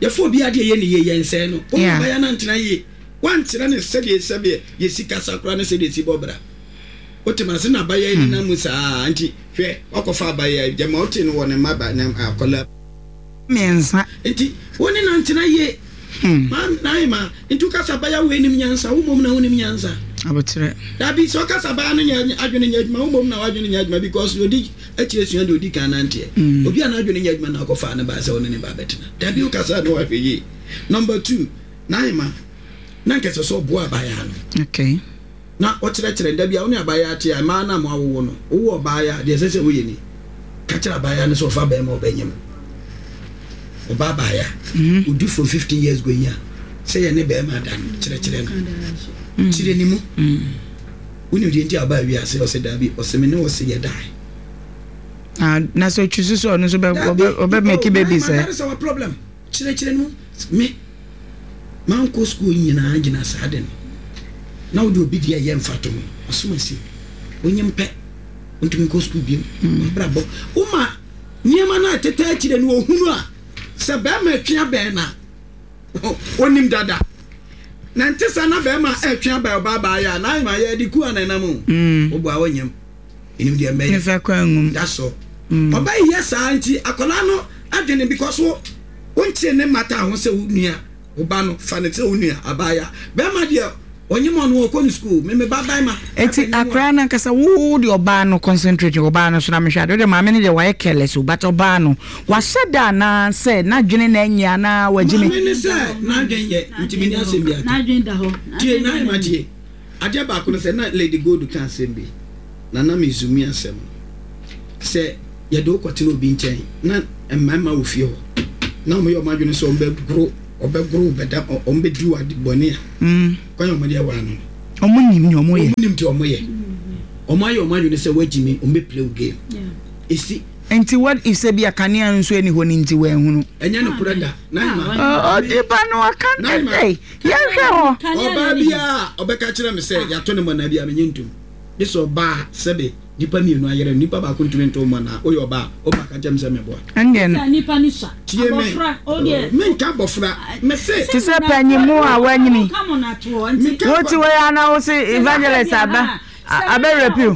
Yɛfa obi adeɛ yɛ ne yie yɛnsɛe no. Wo ne abaayewa no antena yie. Woankyerɛ no sɛdeɛ sɛdeɛ yɛsi kasa koraa ne sɛdeɛ yɛsi bɔ bra. Wote me ase na abaayewa yi nenam mu saa nti hwɛ woakɔfa abaayewa yi gyama wote no wɔ ne mma ba ne akwadaa mmiɛnsa. Nti wo ne no antena yie. Ma Naima nti woka sɛ abaayewa wei nim nyansa wo mmom na wonim nyansa. Aboterɛ. Dabi sɛ ɔka sɛ abaayewa no nyɛ adwene nyɛ adwuma wo mmom na w'adwene nyɛ adwuma because deɛ ɔdi akyire sua deɛ ɔdi kan nanteɛ. Obi a n'adwene nyɛ adwuma na akɔfaa ne baa sɛ ɔne ne ba bɛtena. Dabi wokasa a na wahwɛ yie. Number two Naima na nka ɛsɛ sɛ ɔboa abaayewa no. Okay. Na ɔkyerɛkyerɛ no. Da bi a wo ne abaayewa te a, mmaa no a moawowo no, wowɔ ɔbaayewa a, deɛ ɛsɛ sɛ woyɛ ni, Ka kyerɛ abaayewa no sɛ ɔfa barima a ɔbɛnyem. Ɔba abaayewa, ɔdu from 15 years going a, sɛ yɛne barima da no, kyerɛkyerɛ no. Kyerɛ ne mu. Wonim deɛ nti a ɔbaa wiase? Ɔse daabi. Ɔse me ne wo se yɛdae. Ah, na sɛ ɔtwi so sɛ ɔno nso bɛ ɔbɛ make baby sɛ. That is our problem. Kyerɛkyerɛ no mu. Me. Mankɔ sukuu nyinaa gyina saa ade no. Na wode obi deɛ yɛ mfatoho. Asomasi, wonyem pɛ, wontumi nkɔ sukuu biom. W'abrabɔ, woma nneɛma no a ɛtetɛ akyire no ɔhunu a, sɛ bɛrima ɛtwe abɛn no a, ɔnim dada. Na nte saa na bɛrima ɛtwe abɛn ɔbaa baa yɛ a, na ayɛ ma yɛde ku a na ɛnam o. Woboa wonyem. Menim deɛ mɛyɛ. Mefa kwan ngum. That's all. Ɔba yi yɛ saa nti akwadaa no adwene because wo wonkyere ne mmata ho sɛ wo nua wo ba no fa no sɛ wo nua abaayewa bɛrima deɛ ɔnyem ɔno ɔkɔ ne school me me ba bɛrima. Eti akwadaa no ankasa wo deɛ ɔbaa no concentrate ɔbaa no so na mehwɛ ade wo deɛ maame no deɛ wayɛ careless o but ɔbaa no wahyɛ da anaa sɛ n'adwene na ɛnyɛ anaa wagyimi. Maame no sɛ n'adwene yɛ nti menni asɛm bi aka tie Naima tie. Adeɛ baako ne sɛ, na Lady Gold ka asɛm bi, na na me-zoom asɛm no. Sɛ yɛde wo kɔtena obi nkyɛn na mmarima wɔ fie hɔ, na wɔyɛ wɔn adwene sɛ wɔbɛgoro, wɔbɛgoro wo bɛda, wɔbɛdi wo ade bɔne a, kwan a wɔde awaa no no. Wɔn nim nea wɔyɛ. Wɔn nim deɛ wɔyɛ. Wɔn ayɛ wɔn adwene sɛ wɔagyimi, wɔbɛ play wo game. Esi. Nti what if sɛ bi a kanea no nso ɛni hɔ no nti wɔanhunu? Ɛnyɛ nokorɛ da. Naima. Odiba no aka no. Yɛnhwɛ hɔ. Ɔbaa biara a ɔbɛka kyerɛ me sɛ yɛato no mmɔnaa biara, mennye ntom. Gye sɛ ɔbaa a sɛbe nnipa mmienu ayere no, nnipa baako ntumi nto wo mmɔnaa. Woyɛ ɔbaa a, woma ka kyerɛ me sɛ meboa. Ɛndeɛ no. Tie me. Menka abɔfra. Mese. Te sɛ panyin a wanyini. Wote wei ara na wose evangelist aba abɛ rape wo.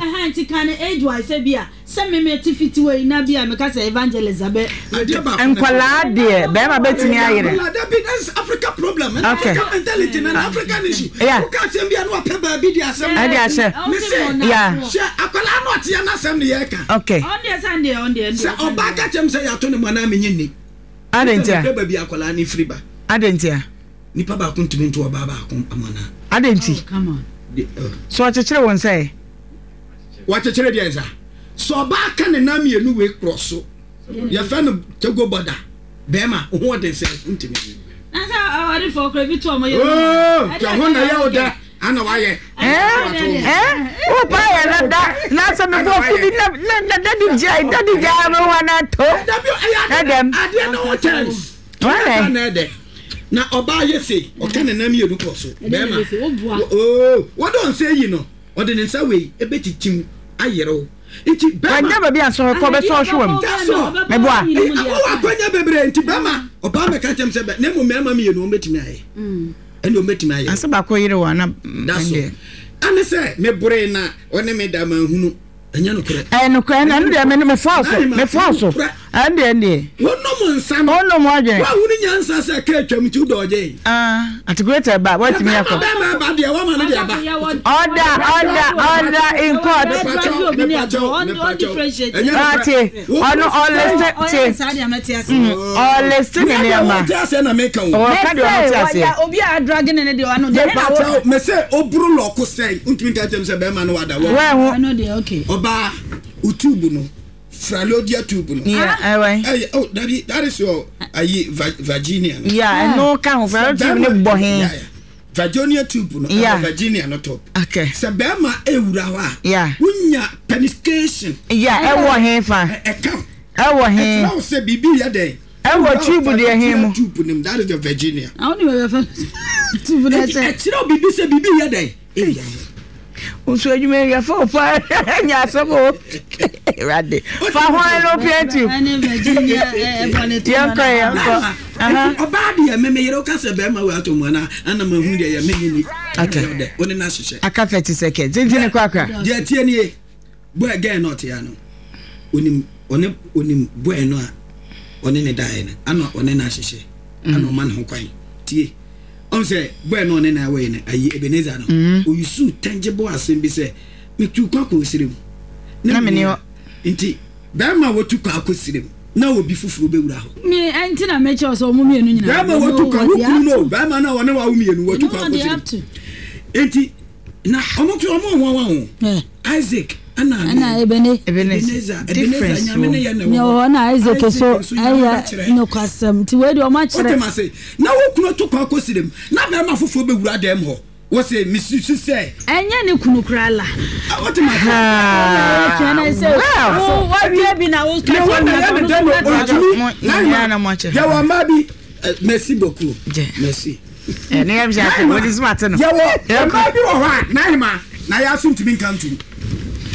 Sɛ me me te fiti wei na bi a meka sɛ evangelist abɛ. Adeɛ baako na Nkwadaa deɛ bɛrima bɛtumi ayere. Nkwadaa dabi that is Africa problem and Okay. Africa mentality and African issue. Yeah. Woka asɛm bi a na wapɛ baabi de asɛm. Ɛde ahyɛ. Me se. Yeah. Hwɛ akwadaa no ɔteɛ n'asɛm ne yɛreka. Okay. Ɔndeɛ sɛ ndeɛ ɔndeɛ ndeɛ. Sɛ ɔbaa ka kyerɛ me sɛ yɛato ne mu anaa menye nni. Adɛn ntia? Mehwɛ baabi akwadaa no firi ba. Adɛn ntia? Nipa baako ntumi nto ɔbaa baako amana. Adɛn nti? Oh, come on. So ɔkyekyere wo nsa ɛ? Wakyekyere deɛ nsa? Sɛ ɔbaa ka ne nan mmienu wei korɔ so, yɛfrɛ no Togo border, bɛrima, wo ho ɔden sɛ wontumi. Na sɛ awarefo kora bi to ɔmo yere Oh, tɛ ho na yɛ wo dɛ, ana wayɛ. Eh, eh, wo pa yɛ na da, na sɛ me bɔ fi bi na na daddy gyae, daddy gyae me wa na to. Dabi ɛyɛ adeɛ adeɛ no ho terms. Why? Na ɛdɛ. Na ɔbaa yɛ sei, ɔka ne nan mmienu kɔ so, bɛrima. Oh, wɔdɔ nsa yi no. Ɔde ne nsa wei bɛtitim ayere wo. Nti bɛrima. Wanya baabi a sɔhwɛ kɔ bɛsɔ ɔhwe wam. That's all. Meboa. Wowɔ akwanya bebree nti bɛrima ɔbaa mɛka kyɛm sɛ bɛ na mmom mmarima mmienu wɔn bɛtumi ayɛ. Ɛne wɔn bɛtumi ayɛ. Asɛ baako yere wɔ ana. That's all. Ɛne sɛ meboree na ɔne me da manhunu. Ɛnyɛ nokorɛ. Ɛyɛ nokorɛ ɛno ɛno deɛ me mefoa so mefoa so ɛno deɛ ɛno deɛ. Wonom nsa no. Wonom wadwene. Woahunu nyansa sɛ kaa atwam nti wodɔ ɔgye. Ah, atikuleta ɛba woatumi akɔ. Bɛrima bɛrima ɛba deɛ wama no deɛ ɛba. Order order order in court. Mepakyɛw mepakyɛw mepakyɛw. Ɛnyɛ nokorɛ. Ate ɔno ɔliste te ɔliste ne nneɛma. Wote aseɛ na meka o. Ɔka deɛ ɔno te aseɛ. Obi a adrage ne ne deɛ ɔno deɛ. Mepakyɛw mese oburu lɔko sɛn wontumi nka kyerɛ me sɛ bɛrima no wada wɔ. Wɛho. Ɛno deɛ okay. Ɔbaa wo tube no fralodia tube no. Yeah, ɛwɛn. Ɛyɛ oh dabi that is your ayi Virginia no. Yeah, ɛno ka ho fralodia tube no bɔ he. Virginia tube no yeah. ɛwɔ Virginia no top. Okay. Sɛ bɛrima ewura hɔ a. Yeah. Wonya penetration. Yeah, ɛwɔ he fa. Ɛka. Ɛwɔ he. Ɛkyerɛ wo sɛ biribi yɛ dɛn. Ɛwɔ tube deɛ he mu. Tube no mu that is the Virginia. Na wo ni bɛbɛ fɛ tube no ɛkyɛ. Ɛkyerɛ wo biribi sɛ biribi yɛ dɛn. Ewura hɔ. Nso adwuma yi yɛfa wo paa nya asɛm o. Awurade. Fa ho fallopian tube. Ɛne Virginia ɛbɔ ne to. Yɛnkɔ yɛnkɔ. Nti ɔbaa deɛ me me yere woka sɛ bɛrima wei atɔ mu anaa ana mahunu deɛ yɛ menye ni. Okay. Ɔdɛ wo ne no ahyehyɛ. Aka 30 seconds. Nti ne korakora. Deɛ tie nie boy girl no ɔte ha no onim ɔne onim boy no a ɔne ne daeɛ no ana ɔne no ahyehyɛ ana ɔma ne ho kwan tie ɔn sɛ boy no ɔne na ɛwɔ yi no ayi Ebenezer no oyusu tangible asɛm bi sɛ metu kɔ akɔ osire mu Na mene hɔ. nti bɛrima a wɔtu kɔ akɔ sire mu na obi foforɔ bɛwura hɔ. Me ɛnti na mekyerɛ sɛ ɔmo mmienu nyinaa. Bɛrima wɔtu kɔ wo kunu no bɛrima no a ɔne wawo mmienu wɔtu kɔ akɔ sire mu nti na ɔmo to ɔmo nwanwa ho Isaac ɛna ɛna Ebene Ebenezer Ebenezer nyame ne yɛ na ɛwɔ hɔ na Isaac so ɛyɛ nokwasɛm nti wei deɛ ɔmo akyerɛ. Wote ma se na wo kunu to kɔ akɔ sire mu na bɛrima foforɔ bɛwura dɛm hɔ. Wose mesusu sɛ. Ɛnyɛ ne kunu koraa la. Wote ma se. Well. Wawie bi na wo Ne ho na yɛ ne dɛ no ɔntumi. Naima yɛwɔ mmaa bi merci beaucoup merci. Ne yɛ bisa ase wɔde suma ate no. Yɛwɔ mmaa bi wɔ hɔ a Naima na yɛ aso ntumi nka ntum.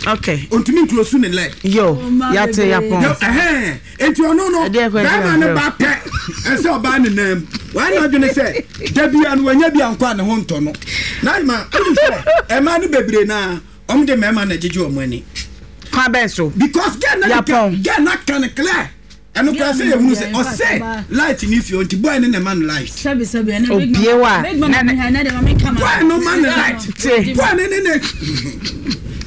Okay. Ɔntumi nkulosu ne leg. Yo yate yapɔn. Ɛhɛn. Enti ɔno no, bɛrima no ba pɛ, ɛsɛ ɔbaa ne nan mu. Wayɛ n'adwene sɛ, da biara no wanya bi ankɔ a ne ho ntɔ no. Na ma wonim sɛ, mmaa no bebree no ara, wɔn de mmarima na ɛgyegye wɔn ani. Kwan bɛn so? Because girl no ka, girl no aka no clear. Ɛno koraa sɛ yɛhunu sɛ ɔsɛ light ne fie nti boy no na ɛma no light. Obie wa. Boy no ma no light. Boy no ne ne.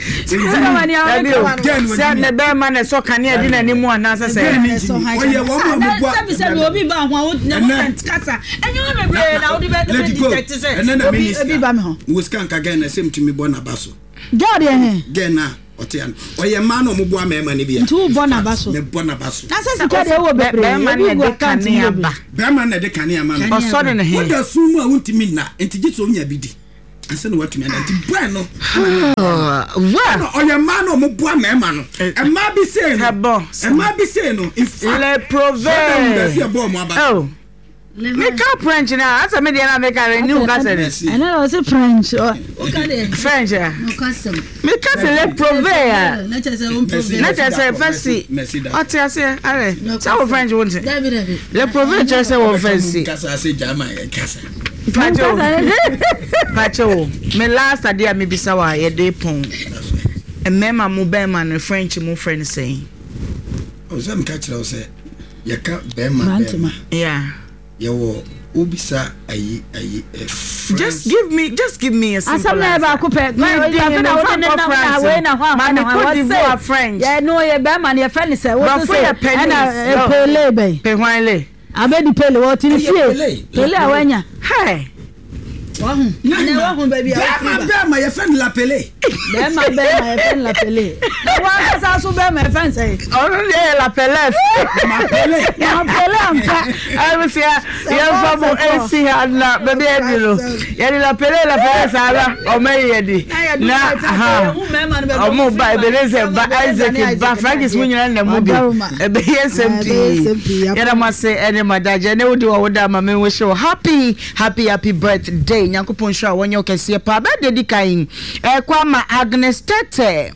Dabi o, sɛ ne bɛrima na ɛsɔ kanea di n'anim anaasɛ sɛ. Ɔyɛ wɔn a wɔn bu a. Sɛbi sɛbi obi ba ho a wo na mo kasa ɛnyɛ wɔn bebree na wode bɛ bɛ detect sɛ obi obi ba mi ho. Wɔ sika nka gɛn na ɛsɛ mtumi bɔ n'aba so. Gɛn deɛ hɛn. Gɛn na ɔte ano ɔyɛ mmaa na ɔmo boa mmarima no bi a. Nti wo bɔ n'aba so. Mɛ bɔ n'aba so. Na sɛ sika deɛ wɔ bebree ebi gu account mu bebree. Bɛrima na ɛde kanea ma no. Ɔsɔ ne ne he. Woda sum mu a wontumi nna nti gye sɛ onya bi di. Ansa na watumi ada nti bɔɛ no. Ɛna ɔyɛ mmaa na ɔmo boa mmarima no. Mmaa bi sei no. Mmaa bi sei no. In fact. Le prove. Brotherhood ɛsi ɛbɔ ɔmo aba. Oh. Meka French na asɛ me deɛ na meka no ni wo kasa ni. Ɛnɛ na ɔse French. Woka deɛ. French a. Meka sɛ le prove a. Na kyerɛ sɛ fɛsi. Ɔte aseɛ arɛ. Sɛ wo French wo nte. Le prove kyerɛ sɛ wɔ fɛsi. Pakyɛ o. Pakyɛ o. Me last adeɛ a mebisa wa yɛde pɔn. Mmarima mo bɛrima no French mo frɛ no sɛn? Ɔsɛ meka kyerɛ wo sɛ yɛka bɛrima bɛrima. Yeah. Yɛwɔ wobisa ayi ayi eh, French. Just give me just give me a simple Asɛm na yɛ baako pɛ. Me Afei di na me wode fa ne nkɔ nam na France. wei na hɔ a Ma hɔ me na hɔ Cote a d'Ivoire wɔse French. yɛ no yɛ bɛrima no yɛfrɛ ne sɛ wose Brɔfo sɛ yɛ ɛna penis. eh, pele bɛn Pe hwan le? abɛdi pele wɔte ne Ɛyɛ fie Pele. pele a wanya Hey. wahu ɛnɛ wahu baabi a wofiri Bɛrima ba bɛrima yɛfrɛ no la pele. bɛrima bɛrima yɛfrɛ no la pele na wankasa so bɛrima yɛfrɛ no sɛ Ɔno deɛ yɛ la pelef. Ma pele. ma pele ampa Abusua yɛmfa mo nsi ha na baabi a yɛadu no yɛde la pele la pele saa na ɔma yi yɛdi na ha ɔmo ba Ebenezer ba Isaac ba Francis mu nyinaa na mu bi ɛbɛyɛ nsɛm pii yɛda mo ase ɛne mo adagye ɛne wode wɔ woda ama me wish wo happy happy happy birthday Nyankopɔn nhyira wo wɔnyɛ wo kɛseɛ paa birthday di kan ɛkɔ ama Agnes Tete.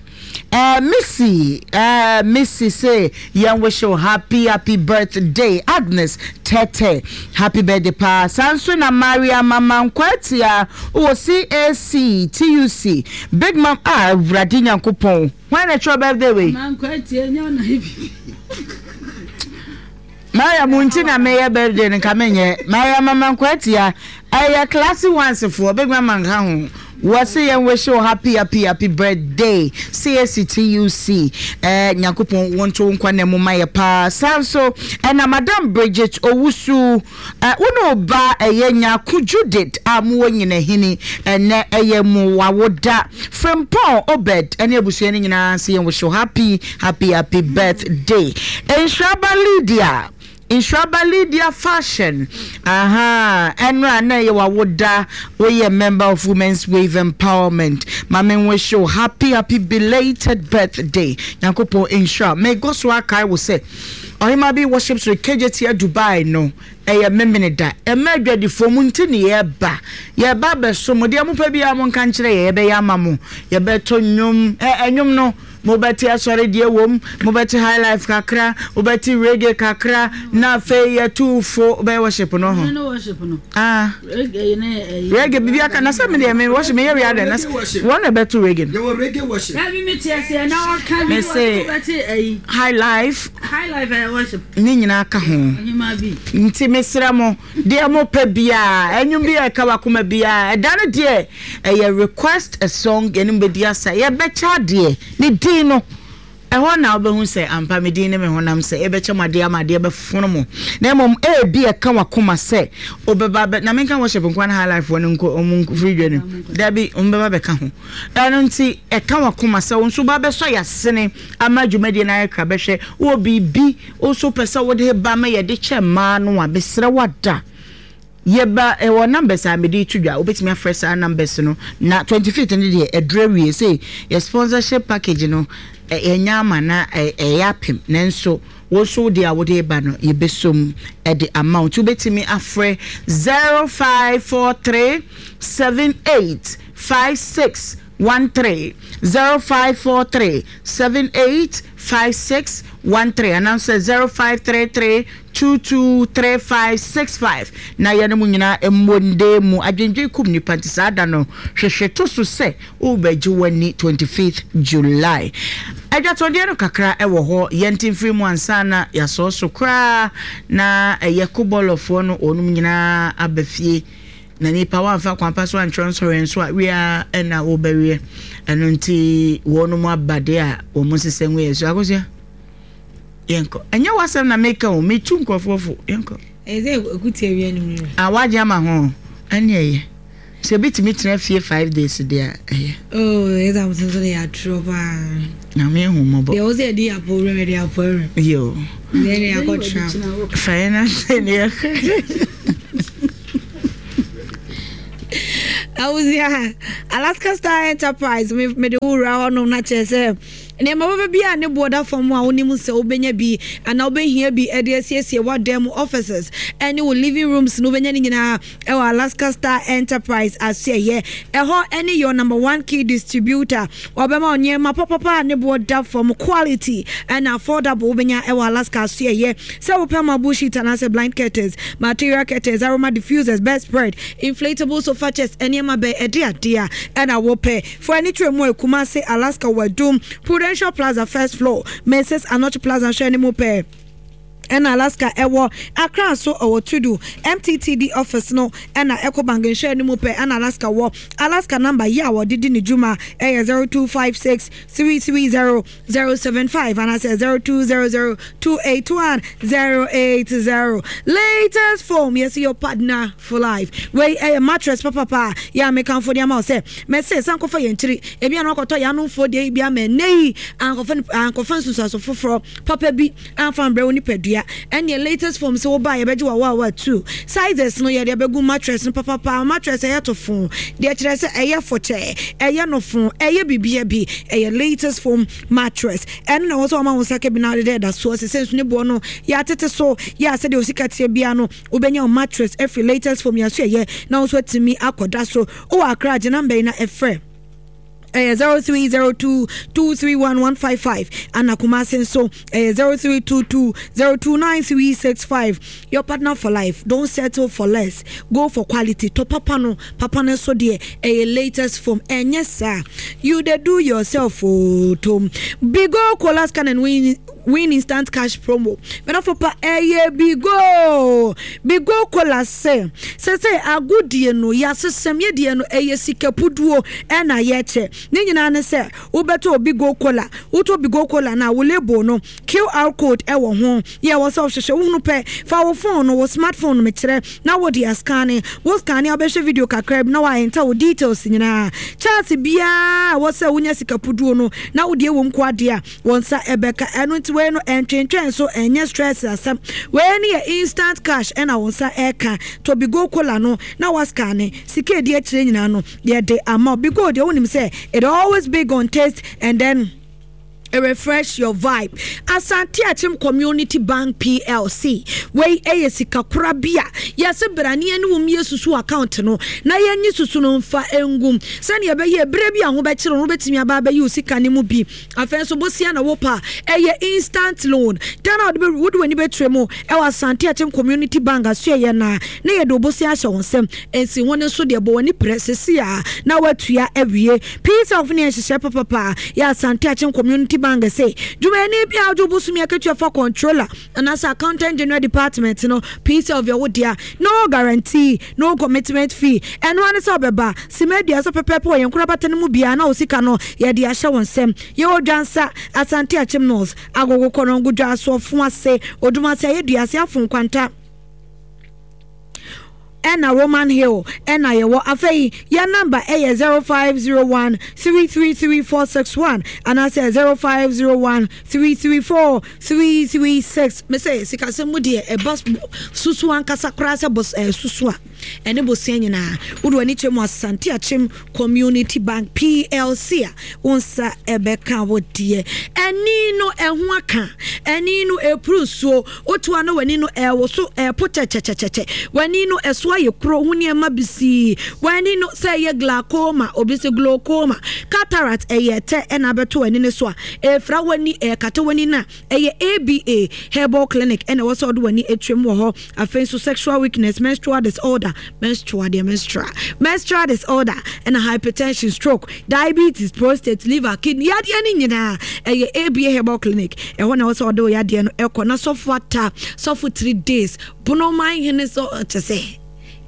Eh Missy eh Missy se yɛn wish wo happy happy birthday Agnes Tete happy birthday paa saa nso na Maria Mama Nkwatia wɔ CAC TUC Big Mam ah Awurade Nyankopɔn hwan na ɛtwerɛ birthday wei? Mama Nkwatia nyɛ ɔna bi. Mariam nti na meyɛ birthday no nka menyɛ. Mariam Mama Nkwatia ɛyɛ classy ones foɔ big mama nka ho. Wɔse yɛn wish wo happy happy happy birthday CACTUC eh Nyankopɔn wɔnto wo nkwa nna mu ma yɛ paa. Saa nso ɛna Madam Bridget Owusu eh wo ne wo ba ɛyɛ Nyarko Judith a mowɔ Nyinahini ɛnɛ ɛyɛ mo wawoda. Frimpong Obed ɛne abusua no nyinaa se yɛn wish wo happy Happy happy birthday Nhyiraba Lydia Nhyiraba Lydia Fashion ahaa ɛnora na ɛyɛ wawoda woyɛ member of Women's Wave Empowerment ma me wish wo happy happy belated birthday Nyankopɔn nhyira mekɔ so akae wo sɛ Ɔhema bi worships with KJT Dubai no ɛyɛ Memeneda ɛma adwadifoɔ mo nti ne yɛba yɛba abɛso mo deɛ mopɛ biara monka nkyerɛ yɛ yɛbɛyɛ ama mo yɛbɛto nnwom ɛ ɛnwom no. Mobɛte asɔre deɛ wom, mobɛte high life kakra, wobɛte reggae kakra, na afei yɛtu fo bɛyɛ worship no ho. Ah. Reggae bibi aka na sɛ me deɛ me worship meyɛ wia dɛ na wɔn na ɛbɛto reggae no. Yɛwɔ reggae worship. Me se high life. Ne nyinaa ka ho. Nti mesrɛ mo deɛ mopɛ biara ɛnwom bi a ɛka wakoma biara ɛda no deɛ ɛyɛ request a song yɛne mo bɛdi asa yɛbɛkyɛ adeɛ ne din no ɛhɔ na wobɛhu sɛ ampa me din ne me honam sɛ yɛbɛkyɛ mo adeɛ ama adeɛ bɛfono mo na mmom ebi ɛka wakoma sɛ wobɛba bɛ na menka worship nkoa ne high life wɔ no nko ɔmo mfiri dwa no dabi ɔmo bɛba bɛka ho ɛno nti ɛka wakoma sɛ wo nso ba bɛsɔ yɛasene ama dwumadie no ayɛ kra bɛhwɛ wɔ biribi wo nso pɛ sɛ wode ba ma yɛde kyɛ mmaa no a mesrɛ wada Yɛba ɛwɔ numbers a mede reto dwa, wobɛtumi afrɛ saa numbers no na 25th no deɛ ɛduru awie sei yɛ sponsorship package no yɛnya ama na ɛyɛ apem nanso wo nso wo deɛ a wode reba no yɛbɛsom de ama wo nti wobɛtumi afrɛ 0543 78 56 13 0543 78 56 13 anaasɛ 0533 223565 na yɛne mo nyinaa mmɔ nde mu. Adwendwen kum nipa nti saa da no hwehwe to so sɛ wobɛgye w'ani 25th July. Adwatɔdeɛ no kakra wɔ hɔ yɛnte mfiri mu ansa na yɛasɔɔ so koraa na ɛyɛ kobɔlɔfoɔ no wɔnom nyinaa aba fie na nipa wamfa kwan pa so antwerɛ nsɔhwɛ nso a wie ara na wobɛweɛ ɛno nti wɔnom aba deɛ a wɔn nsesɛ ngu yɛ so akosua. Yɛnkɔ. Ɛnyɛ w'asɛm na meka o, metu nkurɔfoɔ fo. Yɛnkɔ. Ɛyɛ sɛ ɛkuti awia no mu. Ah, wagye ama ho. Ɛne ɛyɛ. Sɛ ebi tumi tena fie 5 days deɛ a, ɛyɛ. Oh, ɛyɛ sɛ ahosuo nso de yɛ atorɔ paa. Nyame ehu mmɔbɔ. Deɛ wɔ sɛ yɛde apɔ wuram, yɛde apɔ wuram. Yo. Deɛ ne akɔ tra. Fa yɛn ase ne yɛkɔ. Awusia, Alaska Star Enterprise, me mede wo wura hɔnom na kyerɛ sɛ Nneɛma papa bi a ne boɔ da fam a wonim sɛ wobɛnya bi anaa wobɛhia bi de asiesie w'adan mu, offices, ne wo living rooms no, wobɛnya ne nyinaa wɔ Alaska Star Enterprise asoɛeɛ. Ɛhɔ ne your number one key distributor. Wɔbɛma wo nneɛma papapa a ne boɔ da fam, quality and affordable wobɛnya wɔ Alaska asoɛeɛ. Sɛ wopɛ marble sheet anaasɛ blind curtains, material curtains, aroma diffusers, bedspread, inflatable sofa chairs, nneɛma bɛn, ɛde adeɛ a ɛna wopɛ. Fo ani kyerɛ mu ɛ Kumasi, Alaska Wadum, Prudential Plaza first floor, Mrs Anokye Plaza nhwɛ anim pɛɛ ɛna Alaska ɛwɔ, Accra nso ɛwɔ Tudu, MTTD office no ɛna Ecobank nhwɛ anim pɛɛ ɛna Alaska wɔ. Alaska number yɛ a wɔde di ne dwuma ɛyɛ 0256 330 075 anaasɛ 0200 281 080. Latest foam, yɛsi your partner for life. Wei ɛyɛ mattress papapa a yɛ a mekamfo de ama wo sɛ mɛse san kɔfa yɛn tiri. Ebi a na wakɔtɔ yɛn anomfoɔ deɛ yi bi ama ɛnnɛ yi ankɔfa ankɔfa nsunsuanso foforɔ papa bi amfa ambrɛ wo nipadua. Ɛnneɛ latest foam sɛ woba a yɛbɛgye wawawa two sizes no yɛde abɛgu mattress no papapa. Mattress ɛyɛ tofo deɛ kyerɛ sɛ ɛyɛ fɔkyɛ, ɛyɛ nofo, ɛyɛ bibia bi. Ɛyɛ latest foam mattress. Ɛno na ɛwɔ sɛ wɔma wo nsa ka bi na wode dɛ da soɔ. Sesei nso ne boɔ no yɛatete so yɛ a sɛdeɛ wo sika teɛ biara no wobɛnya wo mattress afiri latest foam yɛn so ɛyɛ na wo nso atumi akɔda so. Wowɔ Accra a gye number yi na ɛfrɛ. Ɛyɛ 0302 231 155 ana Kumasi nso ɛyɛ 0322 029 365. Your partner for life, don't settle for less, go for quality. Tɔ papa no, papa no nso deɛ ɛyɛ latest foam, ɛnyɛ saa. You dey do yourself oo tom. Bigo Cola Scan and Win Win Instant Cash Promo. Medafo pa ɛyɛ Bigo. Bigo Cola sɛ sɛsɛ agodie no yɛasesɛm yɛdeɛ no ɛyɛ sika puduo ɛna yɛkyɛ. Ne nyinaa ne sɛ wobɛtɔ Bigo Cola. Wotɔ Bigo Cola no a wo label no QR code ɛwɔ ho. Yɛ wɔ sɛ wohwehwɛ wohunu pɛ fa wo phone no wo smartphone no mekyerɛ na wode ascanne. Wo scanne a wobɛhwɛ video kakra bi na wa enter wo details nyinaa. Chance biara a ɛwɔ sɛ wonya sika puduo no na wode ɛwɔ mu ko adeɛ a wɔn nsa ɛbɛka. Ɛno nti wei no ɛntwentwɛn so ɛnyɛ stress asɛm. Wei no yɛ instant cash ɛna wo nsa ɛka. Tɔ Bigo Cola no na wa scanne. Sika ɛdi akyire nyinaa no yɛde ama wo. Bigo deɛ wonim sɛ it always big on taste and then. Refresh your vibe. Asante Akyem Community Bank PLC. Wei ɛyɛ sikakora bi a yɛse bra ne yɛne wo mmie susu account no na yɛnye susu no mfa ngum sɛnea ɛbɛyɛ berɛ bi a ho bɛkyere no wobɛtumi aba abɛyi wo sika no mu bi. Afei nso bosea na wopɛ a ɛyɛ instant loan. Da no a wode w'ani bɛkyerɛ mu ɛwɔ Asante Akyem Community Bank asoɛeɛ no a na yɛde wo bosea ahyɛ wo nsam. Nsi ho no nso deɛ bɔ w'ani prɛ sɛsi a na woatua awie. Peace of ne nhyehyɛe papapa yɛ Asante Akyem Community Bank se dwumayɛni bi a wogye wo bosome akatua fa Controller anaasɛ Accountant General Department no Peace of yɛ wo dea. No guarantee, no commitment fee. Ɛno ara ne sɛ wobɛba sima aduasa pɛpɛɛpɛ wɔ yɛn nkorabata no mu biara na wo sika no yɛde ahyɛ wo nsam. Yɛwɔ Dwansa, Asante Akyem North, Agogo Kɔnɔngo Dwaso, Ɔfoase, Odumase, Ayeduase, Afo Nkwanta. Ɛna Roman Hill ɛna yɛwɔ. Afei yɛn number ɛyɛ 0501 333 461 anaasɛ 0501 334 336. Me sɛ sikasɛm mu deɛ ɛba susu ankasa koraa sɛ bos ɛɛ susu a ɛne bosea nyinaa wode w'ani kyerɛ mu Asante Akyem Community Bank PLC a wo nsa ɛbɛka wo deɛ. Ɛni no ɛho aka, ɛni no ɛpuru nsuo. Woto a na w'ani no ɛrewoso, ɛrepo kyɛkyɛkyɛkyɛ. W'ani no ɛso ayɛ kuro, ho nneɛma bisii. W'ani no sɛ ɛyɛ glaucoma, obi se glaucoma, cataract, ɛyɛ ɛtɛ ɛna abɛto w'ani no so a, ɛrefira w'ani, ɛrekata w'ani no a, ɛyɛ ABA Herbal Clinic ɛna ɛwɔ sɛ wode w'ani atwam wɔ hɔ. Afei nso sexual weakness, menstrual disorder, menstrual deɛ menstrual, menstrual disorder, ɛna hypertension, stroke, Diabetes, prostate, liver, kidney yadeɛ no nyinaa ɛyɛ ABA Herbal Clinic. Ɛhɔ na ɛwɔ sɛ ɔde wo yadeɛ no ɛkɔ na sɔfo ata sɔfo 3 days bonoman hene sɛ ɔkyɛ sɛ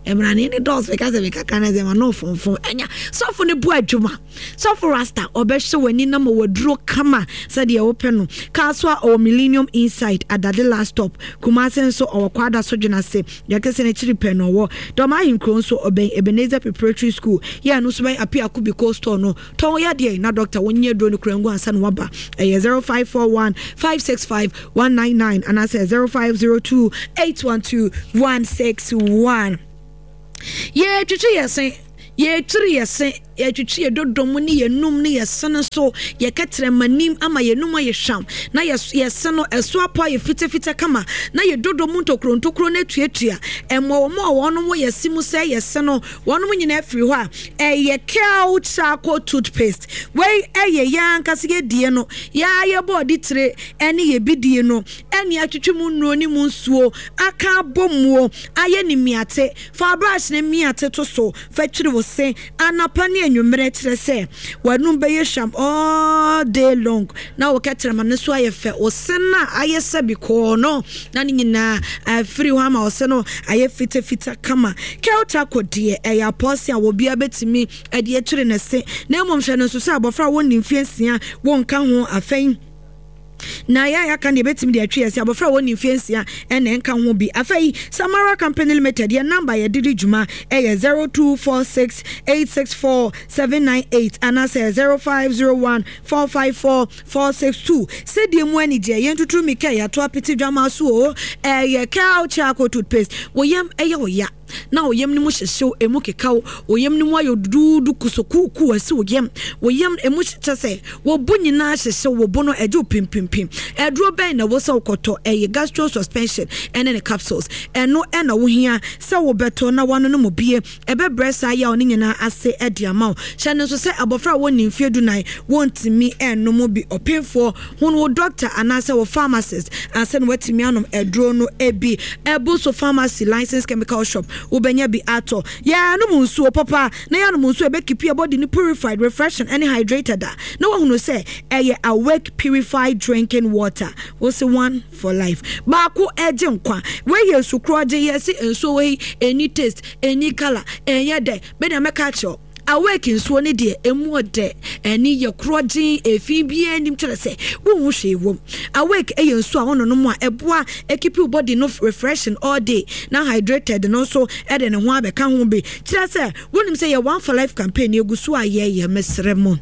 mmerane ne dɔɔso meka sɛ mekaka no sɛ ma no fonfon ɛnya sɔfo no bu adwuma sɔfo rasta ɔbɛhyɛ w'ani na ma waduro kama sɛdeɛ wopɛ no kaa so a ɔwɔ Millennium Inside Adade last stop Kumase nso ɔwɔ Kwada so dwena se Deɛ ɛte sɛ n'akyiri pɛ na ɔwɔ. Dɔm ahenkuro nso, ɔbɛn Ebenezer Preparatory School. Yɛ ɛno nso bɛn Apiaku Biko Store no. Tɔn wo yadeɛ na dɔkta wo nyɛ aduro no kura ngu ansa na waba. Ɛyɛ 0541 565 199 anaasɛ 0502 812 161. Yɛtwitwi yɛ se, yɛtwiri yɛ se. Yɛtwetwe yɛn dodom ne yɛn anum ne yɛn se no so, yɛn kɛtrɛma nim ama yɛn anum ayɛ hwam, na yɛn yɛn se no ɛso apɔ ayɛ fitafita kama, na yɛn dodom mu ntokuro ntokuro no atuatua. Mmoawammoawa a wɔnom wɔ yɛn se mu sɛe yɛn se no, wɔnom nyinaa firi hɔ a, ɛyɛ Kel Charcoal Toothpaste. Wei yɛ yɛn ankasa yɛn die no, yɛn ara yɛn bɔɔde tire ne yɛn bidie no ne atwetwe mu nnuro ne mu nsuo aka abɔ muo ayɛ no mmiate. Fa brush no mmiate to so fa twiri wo se anɔpa ne anwummerɛ, kyerɛ sɛ w'anum bɛyɛ hwam all day long na wo kɛtrɛma no nso ayɛ fɛ, wo se no a ayɛ sɛ bikɔɔ no na ne nyinaa afiri hɔ ama wo se no ayɛ fitafita kama. Kel charcoal deɛ ɛyɛ apɔɔse a obiara bɛtumi de atwiri ne se, na mmom hwɛ no nso sɛ abɔfra a wɔnni mfeɛ nsia wonka ho afei. Na yɛn a yɛaka no yɛbɛtumi de atwe yɛn se abɔfra a wɔnni mfeɛ nsia na ɛnka ho bi. Afei, Samara Company Limited, yɛn namba a yɛde di dwuma yɛ 0246 864 798 anaasɛ 0501 454 462. Sɛdeɛ mu anigyeɛ, yɛn tuturu mika a yɛato apete dwamaa so o, ɛyɛ Kel Charcoal Toothpaste. Wo yam yɛ wo ya? na wo yam no mu hyehye wo, emu keka wo, wo yam no mu ayɛ duduudu kusukuukuu asi wo yam, wo yam emu kyɛ sɛ wo bo nyinaa hyehye wo, wo bo no ɛgye wo pimpimpim. Aduro bɛn na ɛwɔ sɛ wokɔtɔ? Ɛyɛ gastro suspension ɛne ne capsules. Ɛno ɛna wohia sɛ wobɛtɔ na woanonom bie. Ɛbɛbrɛ saa yaw no nyinaa ase de ama wo. Hyɛ no nso sɛ abɔfra a wɔnni mfeɛ dunan wɔntumi nnom bi. Ɔpemfoɔ Hunu wo dɔkta anaasɛ wo pharmacist ansa na woatumi anom aduro no bi. Abu so Pharmacy, Licensed Chemical Shop, wobɛnya bi atɔ. Yɛnom nsuo papa na yɛanom nsuo a ɛbɛkeepi yɛn body no purified, refreshing ne hydrated a, na woahunu sɛ ɛyɛ Awake Purified Drinking Water. Wose one for life. Baako gye nkwa. Wei yɛ nsu korɔgye. Yɛse nsuo wei ɛnni taste, ɛnni colour, ɛnyɛ dɛ. Me deɛ mɛka akyerɛ wo. Awake nsuo no deɛ ɛmu ɔdɛ, ani yɛ korɔgyen, efi biara nnim kyerɛ sɛ wonhu hwee wom. Awake yɛ nsuo a wononom a ɛboa keep wo body no refreshing all day na hydrated no nso de ne ho abɛka ho bi. Kyerɛ sɛ wonim sɛ yɛ One for Life campaign no yɛgu so a yɛyɛ, mesrɛ mo.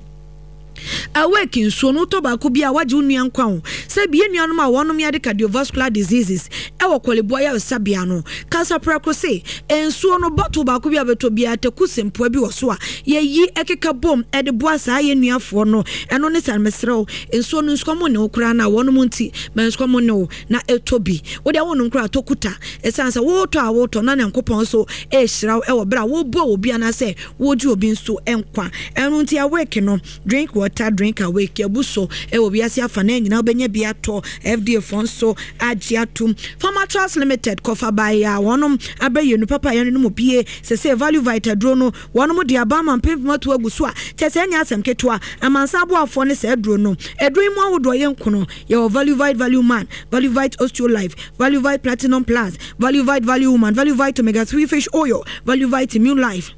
Awake! Nsuo no, wotɔ baako bi a, woagye wo nua nkwa o. Sɛ bi, yɛn nuanom a wɔnom yare cardiovascular diseases wɔ Korle-Bu ayaresabea no, kasa prɛko se, nsuo no, bottle baako bi a wobɛtɔ biara, taku sempoa bi wɔ so a yɛyi keka bom de boa saa yɛn nuafoɔ no. Ɛno ne saa no, mesrɛ wo, nsuo no, nsukɔm nne wo koraa no a, wɔnom nti, ma nsukɔm nne wo na tɔ bi. Wo deɛ wonnom koraa a, tɔ kuta. Ɛsiane sɛ wotɔ a wotɔ na Nyankopɔn nso rehyira wo wɔ berɛ a woboa obi anaasɛ Wogye obi nso nkwa. Ɛno nti awake no, drink water, drink awake, abu so wɔ wiase afanaa nyinaa wobɛnya bi atɔ. FDA foɔ nso agye atom. Pharmatrust Limited kɔfa baeɛ a wɔnom abɛyɛ nu papa a yɛnonom bie. Sesei Value Vite aduro no wɔnom de aba ama mpempem ato agu so a kyerɛ sɛ ɛnyɛ asɛm ketewa. Amansan aboafoɔ ne saa aduro no. Aduro yi mu ahodoɔ yɛ nkono. Yɛwɔ Value Vite Value Man, Value Vite Osteo Life, Value Vite Platinum Plus, Value Vite Value Woman, Value Vite Omega 3 Fish Oil, Value Vite Immune Life,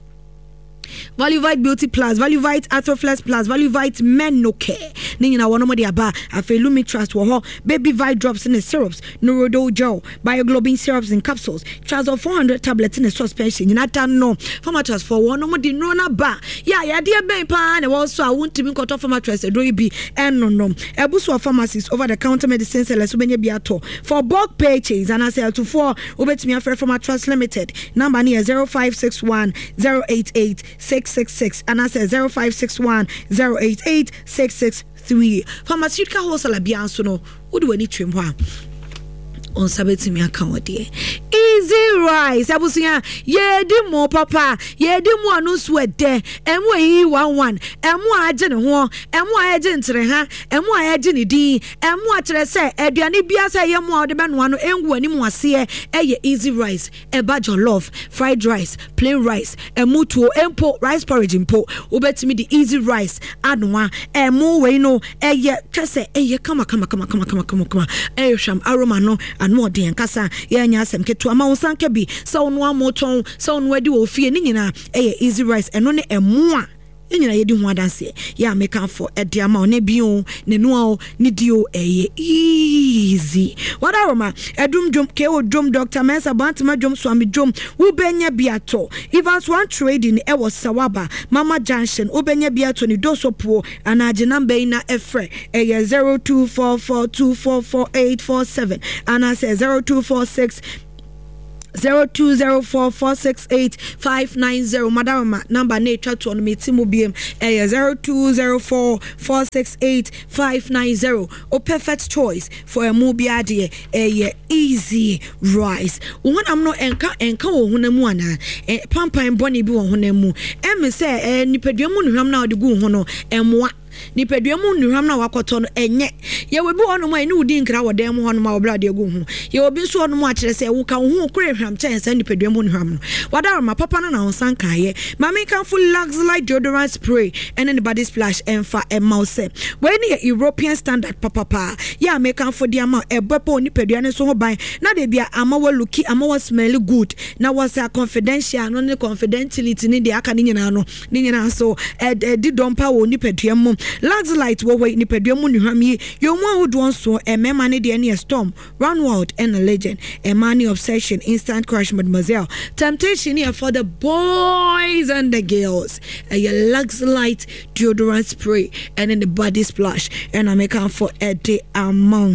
Value Vite Beauty Plus, Value Vite Arthroflex Plus, Value Vite Menocare. Ne nyinaa wɔnom de aba. Afei Lumi Trust wɔ hɔ, Baby Vite Drops ne Syrups, Neurodol Gel, Bioglobin Syrups and Capsules, Trazol 400 Tablets ne Suspension nyinaa da no. Pharmatrust foɔ wɔnom de nnuro no aba. Yɛ a yadeɛ bɛn paa na ɛwɔ so a wontumi nkɔtɔ Pharmatrust aduro yi bi ɛnnonom. Abu so wɔ pharmacies, over the counter medicine sellers wobɛnya bi atɔ. For bulk purchase anaasɛ atufoɔ wobɛtumi afrɛ Pharmatrust Limited. Number no yɛ 0561 088 666 anaasɛ 0561 088 663. Pharmaceutical wholesaler biara nso no wode w'ani twam hɔ a wo nsa bɛtumi aka wo deɛ. Easy rice abusua yɛdi mo papa yɛdi mo ano nso ɛdɛ ɛmo ɛyiyi wanwan ɛmo a agye ne ho ɛmo a ɛgye ntereha ɛmo a ɛgye ne din ɛmo a kyerɛ sɛ aduane biara sɛ ɛyɛ mo a wɔde bɛnoa no ɛngu anim aseɛ ɛyɛ easy rice. Ɛba jollof, fried rice, plain rice, ɛmo tuo mpo, rice porridge mpo, wobɛtumi de easy rice anoa. Ɛmo wei no ɛyɛ kyɛ sɛ ɛyɛ kama kama kama kama kama kama kama. Ɛyɛ hwam aroma no ano ɔden ankasa. Yɛnyɛ asɛm ketewa ma wo nsa nka bi sɛ wonoa mo tɔn, sɛ wonoa di wɔ fie ne nyinaa ɛyɛ easy rice. Ɛno ne ɛmo a Yɛn nyinaa yɛdi ho adanseɛ. Yɛ a mekamfo de ama wo ne bi o, ne noa o, ne di o, ɛyɛ easy. Wadaroma, Adum dwom, KO dwom, Doctor Mensah, Bantama dwom, Swami dwom, wobɛnya bi atɔ. Evans One Trading ɛwɔ Sawaba, Mama Junction, wobɛnya bi atɔ ne Doso Puo anaa gye number yi na frɛ, ɛyɛ 0244244847 anaasɛ 0246 0204468590 Madaroma number na etwa toɔ no meti mu biem ɛyɛ 0204468590 o perfect choice for ɛmu biara deɛ ɛyɛ easy rice wo honam no ɛnka ɛnka wɔ honam mu anaa ɛ pampan bɔne bi wɔ honam mu ɛme sɛ ɛɛ nipadua mu nnuhwam na ɔde gu ho no ɛmoa Nipadua mu nnuhwam no a wakɔtɔ no, ɛnyɛ. Yɛwɔ ebi wɔ hɔnom a, ɛne wo di nkra wɔ dan mu hɔnom a wɔbrɛ ade agu wo ho. Yɛwɔ bi nso wɔ hɔnom a, kyerɛ sɛ, woka wo ho kora hwam kyɛn saa nipadua mu nnuhwam no. W'adaworoma papa no na wo nsa nkaeɛ. Ma menkamfo Luxelite deodorant spray ne ne body splash mfa mma wo sɛ wei no yɛ European standard papapa. Yɛ a mekamfo de ama wo, ɛbɛbɔ wo nipadua no nso ho ban na da biara ama woaluki, ama woasmɛli good na woasa confidential no ne confidentiality ne deɛ aka no nyinaa no. Ne nyinaa nso, ɛdi dɔm pa wɔ nipadua mu. Luxelite wɔ hɔ yi, nipadua mu nnuhwam yi yɛ ɔmu ahodoɔ nson, mmarima no deɛ no yɛ Storm, Runwild ɛna Legend, mmaa no yɛ Obsession, Instant Crush, Mademoiselle, Temptation no yɛ for the boys and the girls, ɛyɛ Luxelite deodorant spray ɛne ne body splash ɛna mekamfo ɛde ama wo.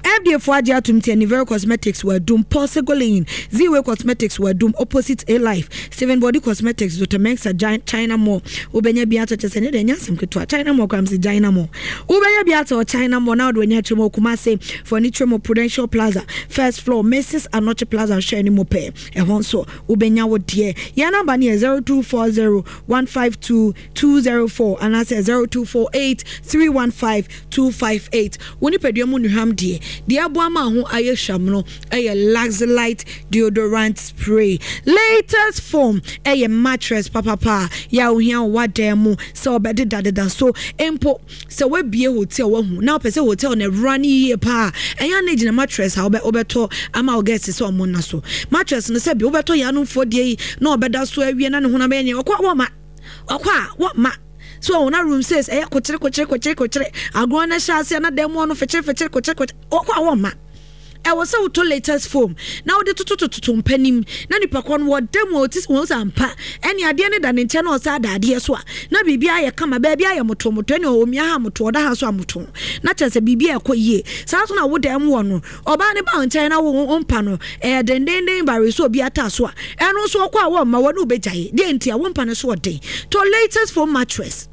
FDA fo agye atom nti Anivero Cosmetics wɔ Adum, Paul Segolin, Z-Way Cosmetics wɔ Adum, Opposite A-Life, Steven Body Cosmetics, Dr. Mensah, China Mall. Wobɛnya bi atɔ kyɛ sɛ ne deɛ ɛnyɛ asɛm ketewa. China Mall koraa mese China Mall. Wobɛnya bi atɔ China Mall na wode w'ani akyerɛ mu wɔ Kumasi, fo ani kyerɛ mu Prudential Plaza, first floor, Mrs. Anokye Plaza nhwɛ anim pɛɛ. Ɛhɔ nso wobɛnya wo deɛ. Yɛn namba no yɛ 0240 152 204 anaasɛ 0248 315 258. Wo nipadua mu nnuhwam deɛ, deɛ ɛboa ma ho ayɛ hwam no yɛ Luxelite deodorant spray. Latest foam yɛ mattress papapa a yɛ a wohia wɔ w'adan mu sɛ wobɛdedadeda so mpo. Sɛ woabue hotel wahu na wopɛ sɛ hotel no ɛwura no yie paa a, ɛyɛ a na egyina mattress a wobɛ wobɛtɔ ama wo guests sɛ wɔn nna so. Mattress no sɛbi wobɛtɔ yɛn anomfoɔ deɛ yi na ɔbɛda so awie na ne honam bɛyɛ nea ɔkɔ a wɔmma. Ɔkɔ a, wɔmma. So wɔn na room six ɛyɛ kokyere kokyere kokyere kokyere. Agorɔ no hyɛ aseɛ na dan mu hɔ no fekyere fekyere kokyere kokyere. Ɔkɔ a wɔmma. Ɛwɔ sɛ wotɔ latest foam na wode totototo mpa no mu na nipa korɔ no wɔda mu a ɔte wɔn sɛ ampa ɛne adeɛ no da ne nkyɛn na ɔsan da adeɛ so a na biribi ayɛ kama, baabi ayɛ motomoto, ɛne ɔmia ha moto, ɔda ha nso amoto, na kyerɛ sɛ biribi ɛkɔ yie. Saa nso na wo dan mu wɔ no, ɔbaa ne ba nkyɛn na wo mpa no ɛyɛ dendenden bare so obi ata so a, ɛno nso ɔkɔ a wɔmma wɔne wobɛgyae. Deɛ nti a wo mpa no so ɔden, tɔ latest foam mattress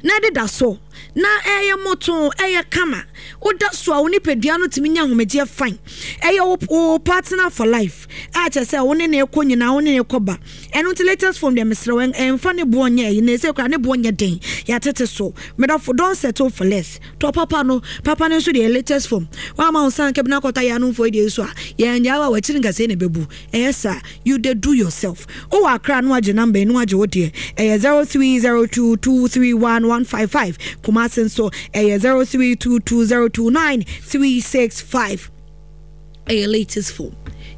na ɛdeda so na ɛyɛ moto, ɛyɛ kama. Woda so a, wo nipadua no tumi nya ahomegyeɛ fine. Ɛyɛ wo partner for life a kyerɛ sɛ wo ne ne kɔ nyinaa, wo ne ne kɔ ba. Ɛno nti latest foam deɛ, mesrɛ wo, ɛmfa ne boɔ nyɛ ɛyi na ɛsɛ kora ne boɔ nyɛ den, yɛatete so. Medɔfo, don't settle for less. Tɔ papa no. Papa no nso deɛ, latest foam. Woama wo nsa nka bi na akɔtɔ ayɛ anomfoɔ yi deɛ so a, yɛngyaa wo a wakyiri nkasɛi na ɛbɛbu. Ɛyɛ saa, you dey do yourself. Wowɔ Akra no, agye number yi na wagye wo deɛ, ɛyɛ 0302231155. Kumase nso ɛyɛ 0322029365. Ɛyɛ latest foam,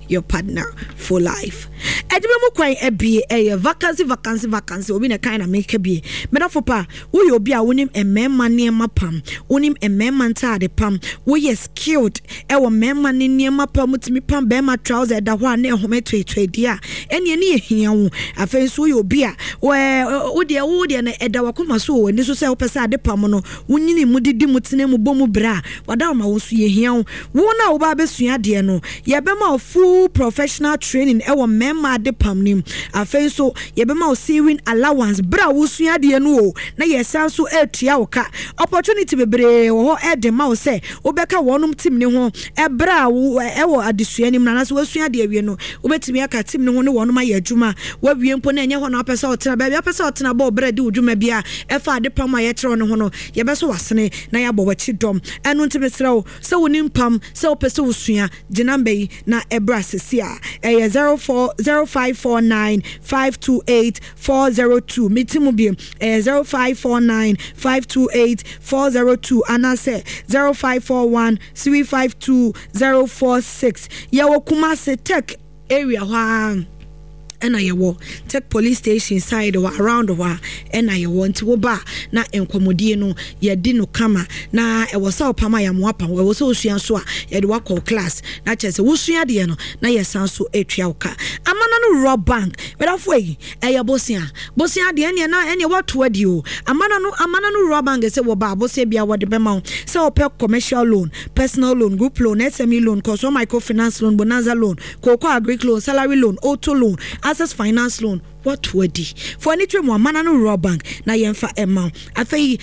your partner for life. Adwuma mu kwan abie, ɛyɛ vacancy, vacancy, vacancy. Obi na kan na meka bie. Medafo pa, woyɛ obi a wonim mmarima nneɛma pam, wonim mmarima ntaade pam, woyɛ skilled ɛwɔ mmarima ne nneɛma pam, tumi pam bɛrima trouser ɛda hɔ a na ɛhome toetoe deɛ a, ɛneɛ ne yɛ hia wo. Afei nso woyɛ obi a wodeɛ wodeɛ no ɛda wakoma so wɔ w'ani so sɛ wopɛ sɛ ade pam no wonyini mu, didi mu, tena mu, bɔ mu berɛ a wada wo ma wo nso, yɛhia wo. Wo na woba abɛsua adeɛ no, yɛbɛma wo full professional training ɛwɔ mmarima ade pam no mu. Afei nso yɛbɛma wo sewing allowance berɛ a wosua adeɛ no o, na yɛsan so atua wo ka. Opportunity bebree wɔ hɔ ɛde ma wo sɛ wobɛka wɔnom team ne ho ɛberɛ a wo ɛwɔ adesua no mu, anaasɛ woasua adeɛ awie no, wobɛtumi aka team ne ho ne wɔnom ayɛ adwuma. Woawie mpo na ɛnyɛ hɔ na wopɛ sɛ ɔtena, baabi a wopɛ sɛ ɔtena bɔ berɛ de wo dwuma bi a ɛfa ade pam a yɛkyerɛw no ho no, yɛbɛso w'asene na yɛabɔ w'akyi dɔm. Ɛno nti mesrɛ wo sɛ wonim pam, sɛ wopɛ sɛ wosua, gye number yi na ɛbrɛ asesi a ɛyɛ 04 0549 528 402. Meti mu biem, ɛyɛ 0549 528 402 anaasɛ 0541 352 046. Yɛwɔ Kumase Tech area hɔ a ɛna yɛwɔ Tech police station side hɔ, around hɔ a ɛna yɛwɔ. Nti woba na nkɔmmɔdie no yɛdi no kama. Na ɛwɔ sɛ wopam a, yɛamoa pam. Ɛwɔ sɛ wosua so a, yɛde wakɔ class na kyerɛ sɛ wosua deɛ no na yɛsan so atua wo ka. Amana no Rural Bank, medafo yi, ɛyɛ bosea bosea deɛ, ɛneɛ na ɛneɛ wato adi o. Amana no, Amana no Rural Bank sɛ wɔba abosea bia wɔde bɛma wo sɛ wopɛ commercial loan, personal loan, group loan, SME loan, kɔsɔ microfinance loan, bonanza loan, cocoa agric loan, salary loan, auto loan, access finance loan. Wato adi fo ani twɛ mu. Amana no Rural Bank na yɛmfa ɛma wo afei.